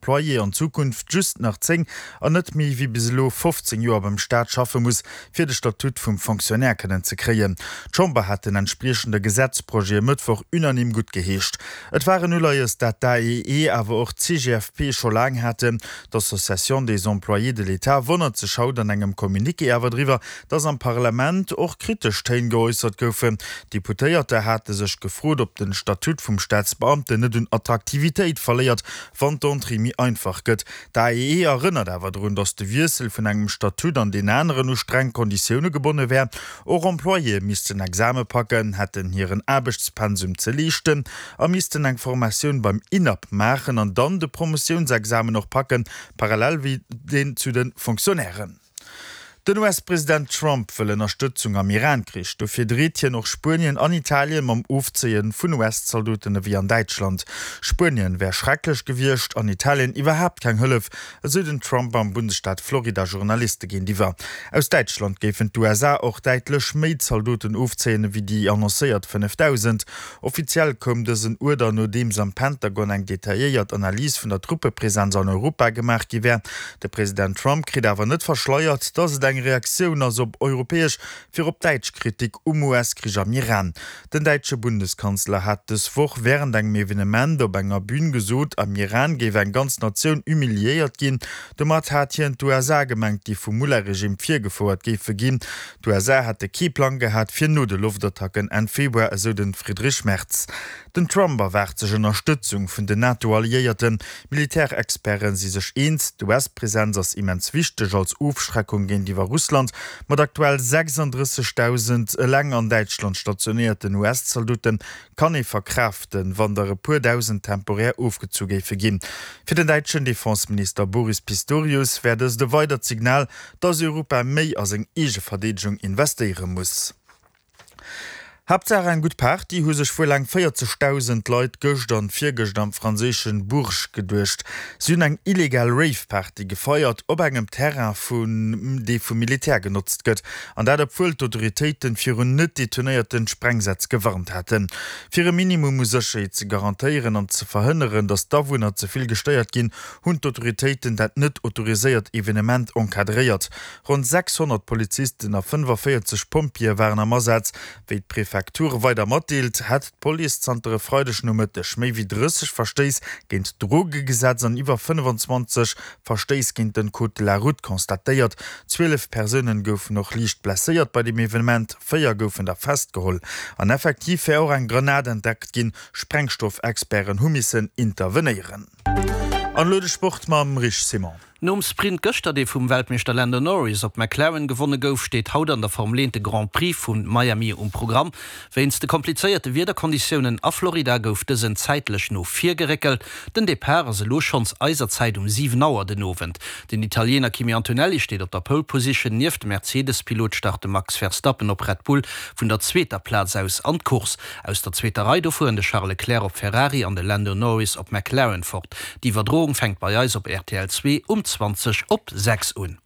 Employé an Zukunft just nach 10 an net méi wéi bis elo 15 Joer beim Staat schaffe muss, fir de Statut vum Fonctionnaire kënnen ze kréien. D'Chamber hat den entspriechende Gesetzprojet e Mëttwoch unanime guttgeheescht. Et war en Uleies, dat d'AEE, awer och d'CGFP scho laang haten. D'Association des employés de l'État wonnert sech haut an engem Communiqué awer driwwer, datt am Parlament och kritesch Téin geäussert goufen. Deputéierter hate sech gefrot, ob den Statut vum Staatsbeamten net un Attraktivitéit verléiert, wann d'Entrée méi einfach gëtt. D'AEE erënnert awer drun, datt de Wiessel vun engem Statut an deen aneren u streng Konditioune gebonne wär. Och Employéë missten Exame packen, hätten hiren Aarbechtspensum ze leeschten a missten eng Formatioun beim INAP maachen an dann de Promotiounsexamen och packen, parallel wéi deen zu de Fonctionnairen. Den US-President Trump wëll Ënnerstëtzung am Iran-Krich. Dofir dreet hien och Spuenien an Italien mam Ofzéie vun US-Zaldoten ewéi an Däitschland. Spuenien wär schrecklech gewiescht an Italien iwwerhaapt keng Hëllef, esou den Trump am Bundesstaat Florida Journaliste géintiwwer. Aus Däitschland géifen d'USA och däitlech méi Zaldoten ofzéien ewéi déi annoncéiert 5.000. Offiziell koum dësen Uerder, nodeems am Pentagon eng detailléiert Analys vun der Truppepresenz an Europa gemaach gi wär. De President Trump kritt awer net verschleiert, datt et eng Reaktioun ass op europäesch, virop däitsch Kritik um US-Krich am Iran. Den däitsche Bundeskanzler hat dës Woch wärend engem Evenement op enger Bün gesot, am Iran géif eng ganz Natioun humiliéiert ginn. Domat hat hien d'USA gemengt, déi vum Mullah-Regime virgefouert géife ginn. D'USA hätte kee Plang gehat fir no de Loftattacken Enn Februar, esou de Friedrich Merz. Den Trump erwaart sech Ënnerstëtzung vun den NATO-Alliéierten. Militärexperte si sech eens, d'US-Presenz ass immens wichteg als Ofschreckung géintiwwer Russland. Mat aktuell 36.000 eleng an Däitschland stationéierten US-Zaldote kann ee verkraaften, wann der e puer dausend temporär ofgezu géife ginn. Fir den däitschen Defenseminister Boris Pistorius wär dëst e weidert Signal, dass Europa méi a seng eege Verdeedegung investéiere muss. Haaptsaach eng gutt Party, hu sech wuel eng 40.000 Leit gëscht an virgëscht am franséischen Bourges geduecht. Si hunn eng illegal Rave-Party gefeiert op engem Terrain vun dee vum Militär genotzt gëtt. An dat obwuel d'Autoritéiten virun net detonéierten Sprengsätz gewarnt haten. Fir e Minimum u Sécherheet ze garantéieren an ze verhënneren, datt d'Awunner ze vill gestéiert ginn, hunn d'Autoritéiten dat net autoriséiert Evenement encadréiert. Ronn 600 Polizisten a 45 Pompjeeë waren am Asaz. Wéi d'Prefektur weider matdeelt, hätt d'Police zanter e Freidegnomëtteg méi wéi 30 Verstéiss géint d'Drogegesetz an iwwer 25 Verstéiss géint den Code de la route constatéiert. 12 Persounen goufen och liicht blesséiert bei dem Evenement, 4 goufen der festgeholl. An effektiv wär och eng Granat entdeckt ginn. Sprengstoffexperten hu missen intervenéieren. An elo de Sport mam Rich Simon. Nom Sprint gëschter, dee vum Weltmeeschter Lando Norris op McLaren gewonne gouf, steet haut an der Formel 1 de Grand Prix vu Miami um Programm. Wéinst de komplizéierte Wiederkonditiounen a Florida gouf dësen zäitlech no vir geréckelt. Den Depart ass elo schonns eiser Zäit um 7 Auer den Owend. Den Italiener Kimi Antonelli steet op der Pole Position. Nieft dem Mercedes-Pilot start de Max Verstappen op Red Bull vun der zweeter Plaz aus an d'Course. Aus der zweeter Rei do fueren de Charles Leclerc op Ferrari an de Lando Norris op McLaren fort. D'Iwwerdroung fänkt bei eis op rtl 2 um 20 op 6 un.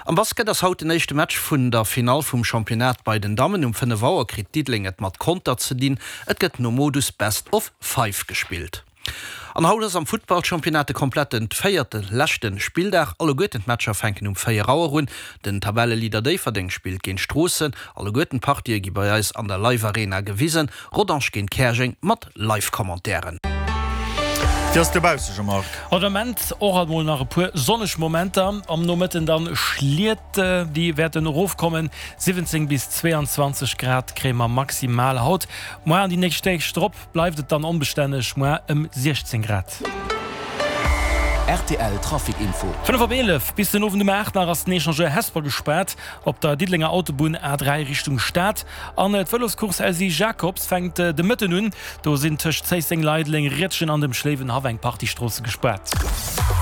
Am Basket ass haut den éischte Match vun der Finall vum Championnat bei den Dammen. Um 5 Auer kritt Diddeleng et mat Conter ze dinn. Et gëtt nom Modus Best of Five gespillt. An haut ass am Futtballchampionnat de kompletten véierte leschte Spilldag. Alleguerten d'Matcher fänken um 4 Auer un. Den Tabelleleader Déifferdeng spillt géint Stroossen. Alleguerten d'Partië gi bei eis an der Live Arena gewisen. Rodange géint Käerjeng mat Live-Commentairen. Wéi ass et dobausse, Jean-Marc? Haut Ament och alt mol nach e puer sonneg Momenter, am Nomëtten dann Schliet, déi wäerten erofkommen. 17 bis 22 Grad kréie mer maximal haut. Moar an déi nächst Deeg drop bleift et dann onbestänneg, moar ëm 16 Grad. Rtl Trafic Info. 5 op 11, Bis den Owend um 8 nach ass den Echangeur Hesper gespaart op der Diddelenger Autobunn A3 Richtung Stad. An d'Vëloscourse Elsy Jacobs fänkt de Mëtten un. Do sinn tëscht Zéisseng, Leideleng, Riedgen an dem Schléiwenhaff eng Partie Stroosse gespaart.